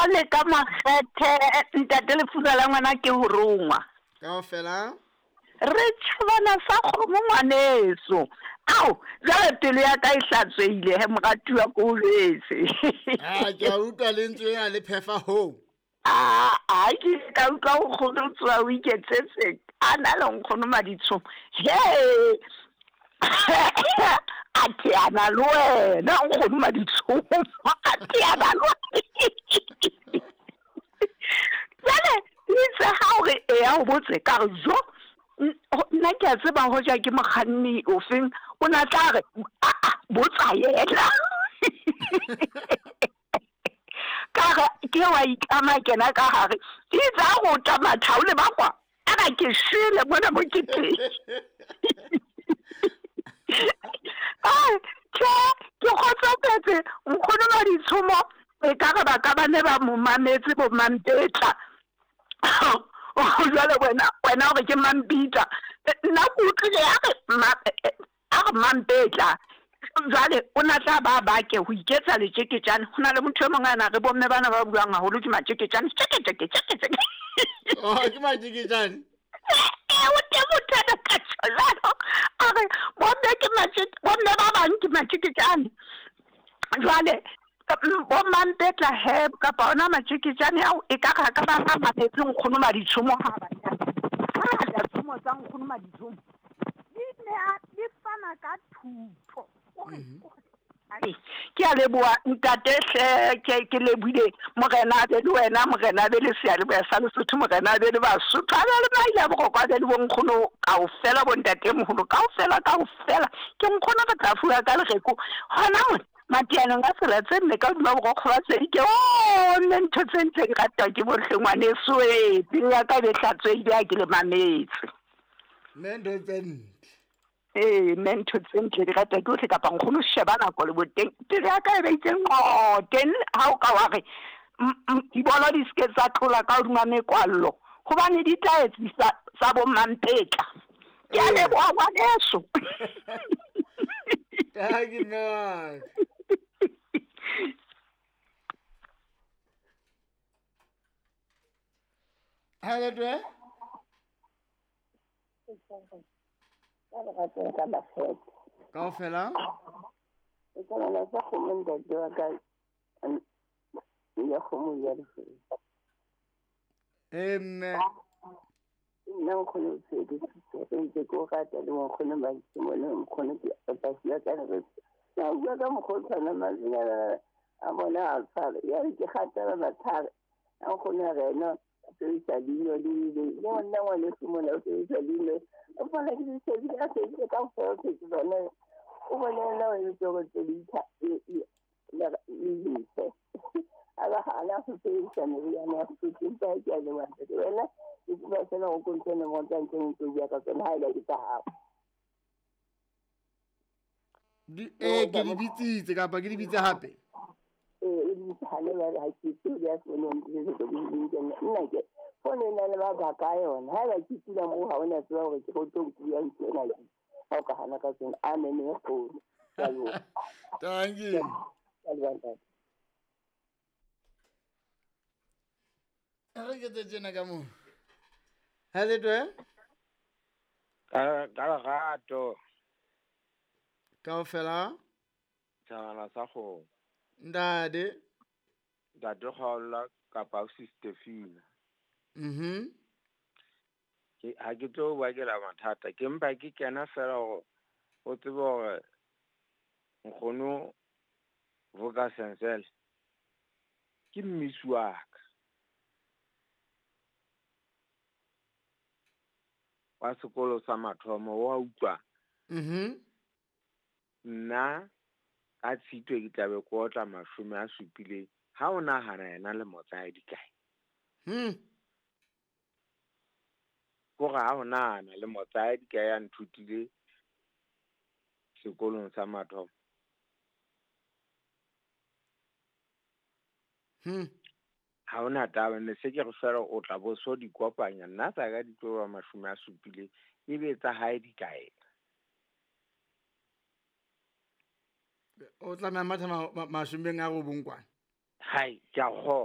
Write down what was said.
Le ka makgethe ntate lefura la ngwana ke ho rongwa. Kaofela. Re tjhabana sa kgomo ngwaneso. Ao, jwale pelo ya ka e hlatswehile he moratuwa ko o jwetse. Ah, ke a utlwa lentswe lena le phefa hoo. A a ke ile ka utlwa nkgono o tsoha o iketsetse a na le nkgono Maditshomo. He! A teana le wena nkgono Maditshomo. A teana le Jwale itse ha o re eya o botse ka re jo nna ke a tseba hoja ke mokganni ofeng o na tla re aa botsa yena. Ka re ke wa itlama kena ka gare itse a go ta mathao le bakwa a ba ke shwele mona mo ke teng. Ai, tjhe, ke kgotsofetse nkgono Maditshomo e ka re ba ka ba ne ba mo mametse bo Mampetla. Jwale wena wena o re ke Mampitla, nna ke utlwile a re a re Mampetla. Jwale o na tla ba bake ho iketsa letjeketjane. Ho na le motho e mong a na re bomme bana ba buang haholo ke matjeketjane, tjeke tjeke tjeke tjeke. Oh, ke matjeketjane. Ee, o teng motho ana ka tjho jwalo. A re bomme ke bomme ba bang ke matjeketjane. Jwale bo Mampetla he kapa ona matjeketjane ao e ka re ka ba ba mametse nkgono Maditshomo ha ba hangata tshomo tsa nkgono Maditshomo di ne di fana ka thuto. Ke a leboha ntate hle, ke lebohile morena a be le wena, morena a be le seyalemoya sa Lesotho, morena a be le Basotho, a be le maile a boroko, a be le bonkgono kaofela, bontate moholo kaofela kaofela. Ke nkgono re tla fuwa ka lereko hona mona mateanong a tsela tse nne ka hodima borokgo ba tsedi ke o nne ntho tse ntse di ratwa ke bohle ngwaneso e pelo ya ka e be hlatswehile ha ke le mametse. Mme ntho tse ntle. Ee, mme ntho tse ntle di ratwa ke bohle kapa nkgono sheba nako le boteng pelo ya ka e be itse nqo teng ha o ka wa re dibolo di seke tsa tlola ka hodima mekwallo hobane di tla etsisa tsa bo Mampetla. Ke a leboha ngwaneso. Thank you, mme. Hello, Dwe. Ka leratong ka makgethe. Kaofela. E ka bana tsa kgomo ntate wa ka ya kgomo ya lefelo. Ee mme. Nna nkgono o tshedisitse ntse ke o rata le nkgono Maditshomo le nkgono ke pasi ya ka re na bua ka mokgwa o tshwana mazinyana a bona a tshware ya re ke gatela mathare a nkgono a re ena o sebedisa leino le le le nna ngwaneso mona o sebedisa leino o bona ke di shebile a sebedise ka ofela o phetse tsone o bone ena o entse gore tse di le lefe a ba gana go sebedisa meriana ya Sesotho empa ke a leboha ntate wena ke tseba fela go kontshe nomoro tsa ntse ntse o bua ka tsone ha e ba ke tsa gago. Ee, ke di bitsitse kapa ke di bitse hape? Ee, o di bitse hane jwale ha ke tsebe ya fono nna ke fono e na le mabaka a yona. Ha eba ke tula moo ha o na tseba hore ke go tlo nkuya ntho ena ke ha o ka hana ka tsona. Amen e kgolo. Ke a leboha. Thank you. Ke a leboha ntate. Re ke tse tjena ka moo. Hello, Dwe. Ka lerato. Kaofela. Tjhangana sa kgomo. Ntate. Ntate Kgaola kapa Sister Fina. Ke ha ke tlo bakela mathata, ke mpa ke kena fela hore o tsebe hore nkgono Vuka Sensele ke mmisi wa ka. Wa sekolo sa mathomo wa utlwa. Nna ka Tshitwe ke tlabe ke otla 70 ha o nahana yena le motsae di kae. Kore ha o nahana le motsae di kae a nthutile sekolong sa mathomo. Ha ona taba ne se ke re fela o tla bo so di kopanya nna tsa ka di tlo ba 70 ebe tsa hae di kae. O tlameha matha 90 kwana. Hai, ke a kgona.